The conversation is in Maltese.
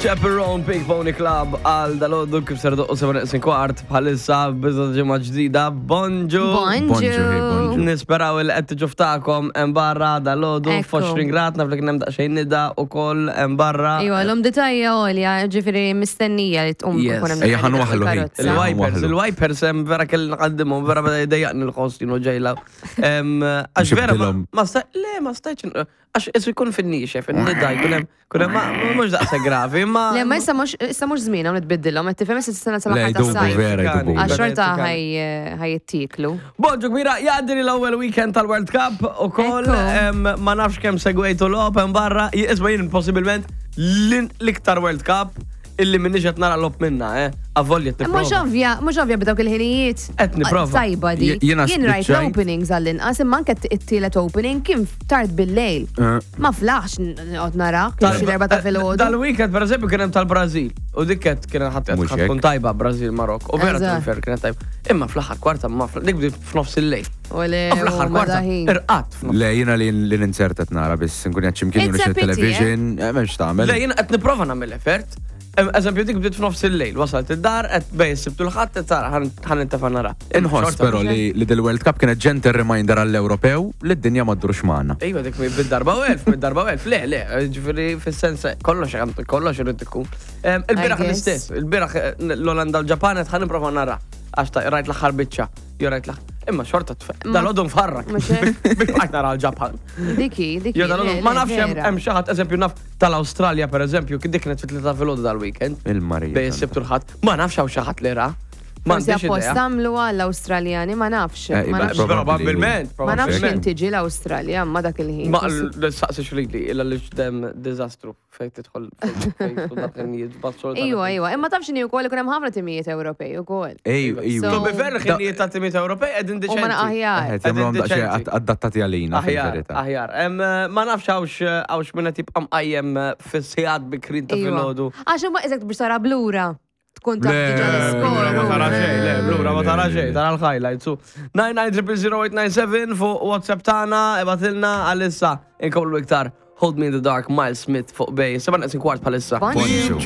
Chaperone Pink Pony Club għal dal-għoddu kif ser doqqu 7 kwart bħalissa biża ġimgħa ġdida. Bonġu! Bonġu! Bonġu. Nisperaw il qed tiġu ftakom hemm barra dal-għodu Ekku. f'20 grad naf li kien hemm daqsxejn nida ukoll hemm barra. Iwa, l-umdità hija għolja, ġifieri mistennija li tqum Yes. ikun hemm Ejja, ħa nwaħħlu ħin. karozza. Il-wipers, Waħlu. il-wipers hemm vera kelli nqaddimhom, vera beda jdejjaqni l-ħoss jienu ġejla. Għax vera ma- Ġibtilhom. ma sta le ma stajtx għax isu jkun fin-nixef, in-nida jkun hemm kun hemm ma- mhux daqshekk gravi, ma Le, ma issa mhux issa mhux żmien hawn nitbiddilhom, qed tifhem issa s-sena Le, sal-aħħar jdubu tas-sajf. vera, jdubu. Għax xorta Vera, ħaj jittiklu. Bonġu kbira, jgħaddi li l-ewwel weekend tal-World Cup u koll, Ekku. ma nafx kemm segwejtu logħob hemm barra, isma' jien possibilment l-iktar World Cup illi minnix qed nara logħob minna, eh. Avolja qed Mhux nipprova. ovvja, mhux ovvja b'dawk il-ħinijiet. Qed nipprova. Tajba di. Jiena Jien rajt spiċċajt. l-openings għall-inqas, imma anke t-tielet opening kien tard bil-lejl. Eh. Ma flaħx noqgħod nara, kien xi darba ta' filgħodu. Dal-weekend per eżempju kien hemm tal-Brażil u dik kienet kienet ħadd Mhux ħadd tkun hekk. tajba Brażil Marok u vera Eżatt. tkun kienet tajba. Imma fl-aħħar kwarta ma fl- dik bdiet f'nofs il-lejl. U le, U fl-aħħar u ma kwarta daħin. irqatt f'nofs. Le, jina li li ninserta nara biss nkun qed x'imkien It's a jew pity, television, eh, m'hemmx tagħmel. Le jiena qed nipprova nagħmel effort. Eżempju dik bdiet f'nofs il-lejl, wasalt id-dar qed bej sibtu l-ħadd qed tara ħan intefa' nara. Inħoss Xorta però li li dil-World Cup kienet gentle reminder għall-Ewropew li d-dinja ma ddurx magħna. Ejwa dik bid-darba u elf, bid-darba u elf, le, le, ġifieri fis-sens kollox kollox irid ikun. Il-bieraħ I guess. l-istess, il-bieraħ eh, l-Olanda u l-Ġapan qed ħa nipprova nara għax rajt l-aħħar biċċa, jew rajt l-aħħar. Imma xorta dal-għodu nfarrak. Mhux hekk? Biex bqajt nara l-Ġapan. Diki, diki. Jew dal-għodu le, ma le, nafx hemm vera. hemm xi ħadd eżempju naf tal-Awstralja pereżempju, kien dik kienet fit-tlieta filgħodu dal-weekend. Il-Marija. Bej is-Sibt u l-Ħadd. Ma nafx hawn xi ħadd li ra. Ma Forsi għandix apposta idea. għamlu għall-Awstraljani, ma nafx. Eh, Ma iba, nafx. Probabbilment, Ma nafx probabbilment. kien tiġi l-Awstralja, ma dak il-ħin. Ma l-saqsi xrili, illa li ġdem dizastru fejn tidħol fejn tidħol dak il-nijiet, bazzol. Iwa, iwa, imma taf x'inhi wkoll ikun hemm ħafna timijiet Ewropej ukoll. Ej, ej, So- To be fair, ħinijiet ta' timijiet Ewropej qegħdin U ma diċenti. aħjar. Qed jagħmluhom daqsxejn Deċenti. adattati għalina Aħjar, fil-verità. aħjar. Em, Ma nafx għawx għawx minna tibqa mqajjem fis-sigħat bikrin ta' Iwa. filgħodu. Għax huma eżatt biex tara blura. Tkun taf diġà Blura ma tara l-iskor. xejn, le, blura ma tara Le, xejn, le. tara l-highlights. So, 9900897 fuq WhatsApp tagħna, ibgħatilna għalissa inkomplu iktar Hold Me in the Dark, Miles Smith fuq Bay. 7 kwart bħalissa. Bonġu. Bonġu.